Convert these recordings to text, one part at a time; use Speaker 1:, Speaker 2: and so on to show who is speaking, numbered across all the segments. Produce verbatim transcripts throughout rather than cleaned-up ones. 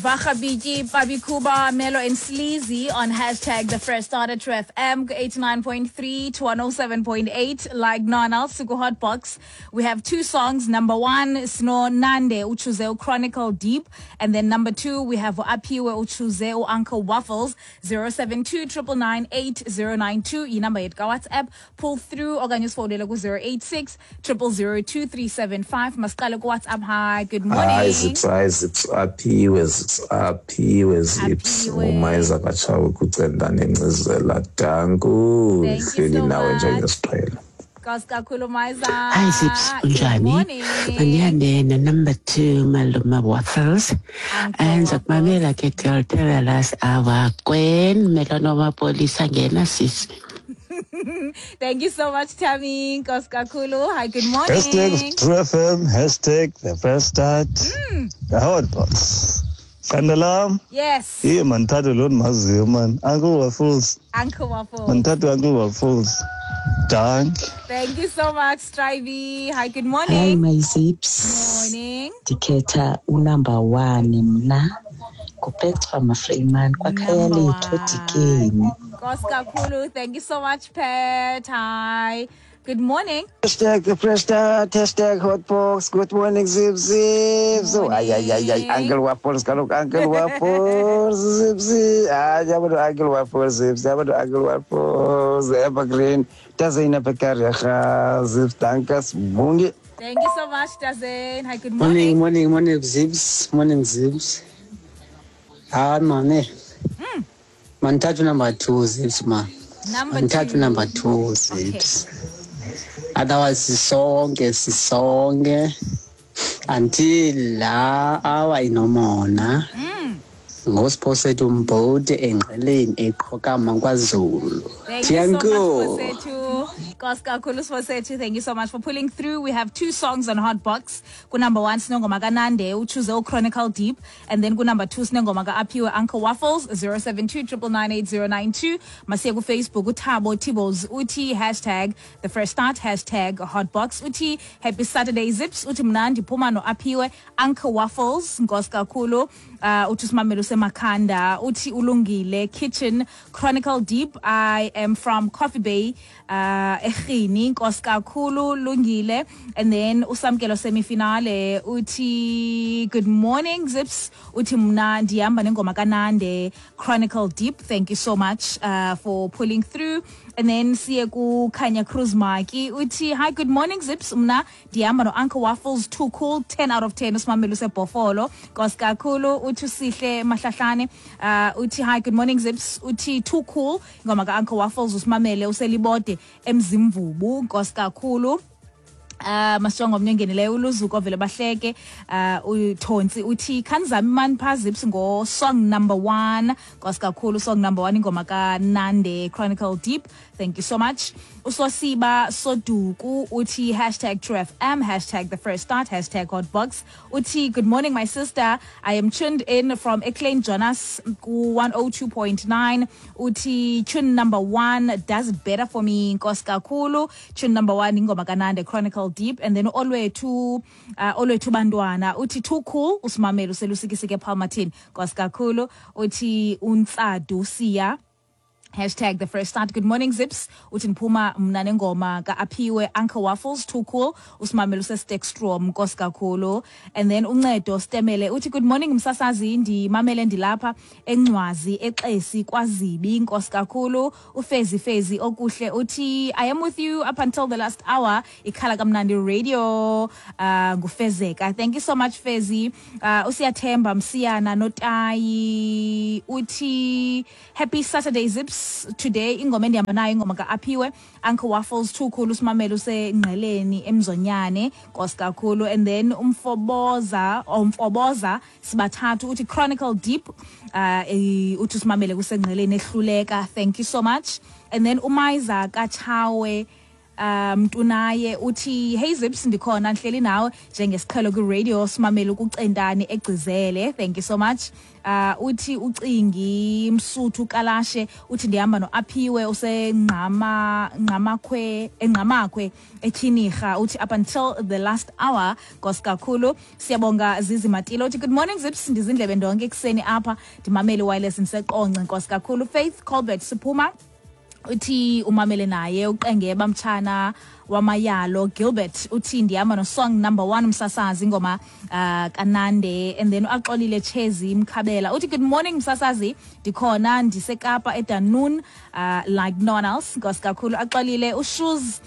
Speaker 1: Vagabiki, Babikuba, Melo and Sleazy on hashtag the fresh start at True F M eighty-nine point three to one oh seven point eight. Like none else, Suku Hot Box. We have two songs. Number one, Sno Nande uchoose Chronicle Deep. And then number two, we have Aphiwe uchoose Uncle Waffles zero seven two triple nine eight zero nine two. Inumber yethu ka WhatsApp. Pull through okanye usifowunele ku zero eight six triple zero two three seven five. Masiqale ku WhatsApp. Hi, good morning.
Speaker 2: Hi, Zips, hi, Zips, Aphiwe, Zips, Aphiwe, Zips. Umayeza kaTshawe kucenda nencizela. Danku.
Speaker 1: Thank you so
Speaker 2: nawe
Speaker 1: much.
Speaker 2: Njengesiqhelo.
Speaker 1: Nkosi kakhulu Mayiza.
Speaker 3: Hi Zips, unjani? Mandiyangena number two Maluma Waffles.
Speaker 1: Uncle
Speaker 3: Ndizakumamela ke girl tell us our Gwen Melano mapolisa ngena sisi.
Speaker 1: Thank you so much, Tammy. Nkosi kakhulu. Hi, good morning.
Speaker 4: Hashtag True F M, hashtag the fresh start.
Speaker 1: Mm.
Speaker 4: The hot box. Kandalam.
Speaker 1: Yes.
Speaker 4: Yeah, man, thathe lo ndimaziyo, man. Uncle Waffles.
Speaker 1: Uncle Waffles.
Speaker 4: Man, thathe Uncle Waffles. Dank.
Speaker 1: Thank you so much, Strivey. Hi, good morning.
Speaker 5: Hi, my Zips.
Speaker 1: Morning.
Speaker 5: Ndikhetha unumber one mna. Kupetra Mafreeman kwakhaya lethu Dikeni.
Speaker 1: Nkosi kakhulu. Thank you so much, Pat. Hi. Good morning.
Speaker 6: Hashtag the fresh start, hashtag hot box. Good morning, Zip Zip. So, ay, ay, ay, ay, Uncle Waffles, kaloku Uncle Waffles, Zip Zip. Ay, yabona Uncle Waffles, Zips, yabona Uncle Waffles, Evergreen. Tazina Pekaria, Zips, dankas, bungi.
Speaker 1: Thank you so much, Tazin. Hi, good morning.
Speaker 7: Morning, morning, morning, Zips. Morning, Zips. Ah, man.
Speaker 1: Mm.
Speaker 7: Mandithathe number two, Zips, ma.
Speaker 1: Number
Speaker 7: Mandithathe
Speaker 1: two.
Speaker 7: number two, Zips. Okay. Otherwise, sisonke, sisonke until la hour inomona. Ngosiphosethu umbhodi engqeleni eqhokama kwaZulu.
Speaker 1: Thank you so much, Siphosethu. Nkosi kakhulu Siphosethu. Thank you so much for pulling through. We have two songs on Hot Box. Ku number one sinengoma kaNande uchoose Chronicle Deep, and then ku number two sinengoma kaAphiwe Uncle Waffles zero seven two triple nine eight zero nine two. Masiye ku Facebook uThabo Tibos uthi hashtag the fresh start hashtag Hot Box uthi happy Saturday Zips uthi mna ndiphuma no Aphiwe Uncle Waffles. Nkosi kakhulu. Uh, uthi usimamelo seMakhanda uthi ulungile kitchen Chronicle Deep. I am from Coffee Bay uh eRhini. Nkosi kakhulu lungile. And then usamkelo semifinale uthi good morning Zips uthi mna ndihamba nengoma kaNande Chronicle Deep. Thank you so much uh, for pulling through. And then siye ku Khanya Cruz Maki uthi hi good morning Zips mna ndihamba no Uncle Waffles too cool ten out of ten usimamelo seBhofolo. Nkosi kakhulu uthi usihle Mahlahlane uh, uthi hi good morning Zips uthi too cool ingoma ka Uncle Waffles usimamele uselibode eMzimvubu. Nkosi kakhulu. Uh, masongo omnyengenileyo uluzuko vele bahleke uh, uThontsi uthi khanzami man pha Zips ngo song number one. Nkosi kakhulu song number one ingoma ka Nande Chronicle Deep. Thank you so much. Usosiba Soduku uthi hashtag True F M hashtag the fresh start hashtag hot box uthi good morning my sister, I am tuned in from Eclain Jonas ku one oh two point nine uthi tune number one does it better for me. Nkosi kakhulu tune number one ingoma ka Nande Chronicle Deep. And then Olwethu uh, Olwethu Bantwana uthi too cool usimamelo selusikisike Palmatin. Nkosi kakhulu uthi untsadu siya hashtag the fresh start. Good morning Zips uthi ndiphuma mna nengoma ka-Aphiwe Uncle Waffles too cool usimamelo sestekstrom. Nkosi kakhulu. And then uncedo Stemele uthi good morning msasazi ndimamele ndilapha eNcwazi eXesi kwaZibi. Nkosi kakhulu. Ufezi Fezi okuhle uthi I am with you up until the last hour ikhala kamnandi radio uh, ngufezeka. Thank you so much Fezi. Uh, usiyathemba Msiyana Notayi uthi happy Saturday Zips. Today ingoma endihamba nayo ingoma ka-Aphiwe Uncle Waffles too cool usimamelo usengqeleni eMzonyane. Nkosi kakhulu. And then umfoboza umfoboza sibathathu uthi Chronicle Deep uh, uthi usimamele kusengqeleni ehluleka. Thank you so much. And then uMayiza kaTshawe um Mtunaye uthi hey Zips, ndikhona ndihleli nawe njengesiqhelo kwi-radio, simamele ukucentane egcizele. Thank you so much. Uh uthi ucingi Msuthu Kalashe uthi ndihamba noAphiwe usengqama ngqamakhwe engqamakhwe etyhinirha, uthi up until the last hour. Nkosi kakhulu, siyabonga. Zizi Matilo uthi good morning Zips, ndizindlebe ndonke ekuseni apha, ndimamele wireless ndiseqonce. Nkosi kakhulu. Faith Colbert Siphuma uthi umamele naye uqengeba mtshana wamayalo. Gilbert uthi ndihamba no-song number one msasazi, ingoma uh, kanande. And then Axolile Chezi Mkhabela uthi good morning msasazi, ndikhona ndisekapa eDunoon, uh, like no one else. Nkosi kakhulu Axolile. Ushoes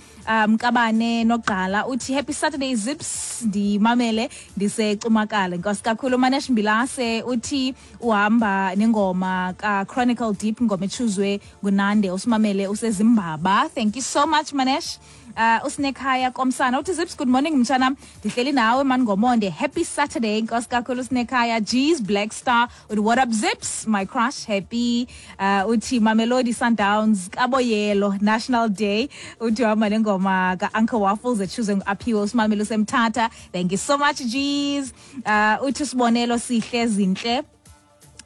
Speaker 1: Mkabane Nogqala uthi happy Saturday Zips, ndimamele ndisecumakala. Nkosi kakhulu. Manesh Mbilase uthi uhamba nengoma ka-Chronicle Deep, ingoma echuzwe nguNande, usimamele usezimbaba. Thank you so much, Manesh. uh usinekhaya komsana uthi Zips, good morning mtshana, ndihleli nawe man ngomonde, happy Saturday. Nkosi kakhulu sinekhaya. G's Black Star uthi what up Zips, my crush, happy. uh uthi Mamelodi Sundowns kaboyelo National Day, uthi uhamba nengoma ka-Uncle Waffles echuzwe ngu-Aphiwe, usimamele usemthatha. Thank you so much, G's. uh uthi Sibonelo Sihle Zinhle,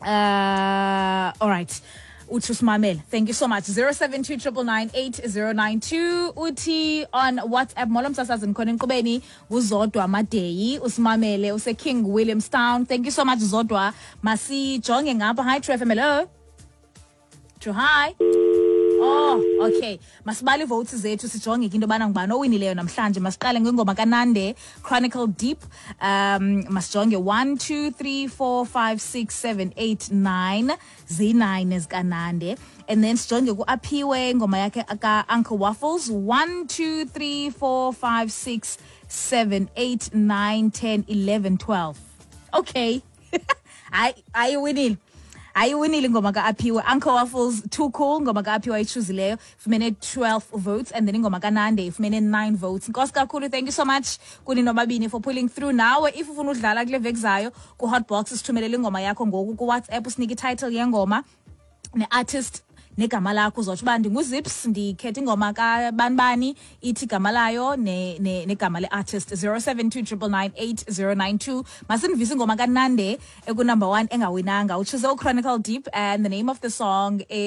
Speaker 1: uh all right, uthi usimamele. Thank you so much. zero seven two nine nine nine eight zero nine two uthi on WhatsApp, molo msasazi, ndikhona enkqubeni, nguzodwa Madeyi, usimamele use-King Williamstown. Thank you so much, Zodwa. Masijonge ngapha. Hi True F M, hello. True, hi. Oh, okay. Masibale votes zethu, sijonge into yobana ngubani owinileyo namhlanje. Masiqale ngengoma kaNande, Chronicle Deep. Um masijonge one two three four five six seven eight nine, ziyi-nine ezikaNande. And then sijonge kuAphiwe, ingoma yakhe ka Uncle Waffles, one two three four five six seven eight nine ten eleven twelve. Okay. Hayi, ayiwinile. Ayiwinile ingoma ka-Aphiwe. Uncle Waffles, Too Cool, ingoma ka-Aphiwe ayichuzileyo, ifumene twelve votes, and then ingoma kaNande ifumene nine votes. Nkosi kakhulu, thank you so much kuni nobabini for pulling through. Nawe if ufuna udlala kule veki zayo ku-Hotbox, sithumelele ingoma yakho ngoku kuWhatsApp, usinike ititle yengoma ne-artist negama lakho. Uzotsho uba ndinguZips, ndikhetha ingoma kabanibani, ithi igama layo ne- ne- negama le-artist. zero seven two nine nine nine eight zero nine two. Masinivise ingoma kaNande ekunumber one engawinanga, uchoose uChronicle Deep, and the name of the song is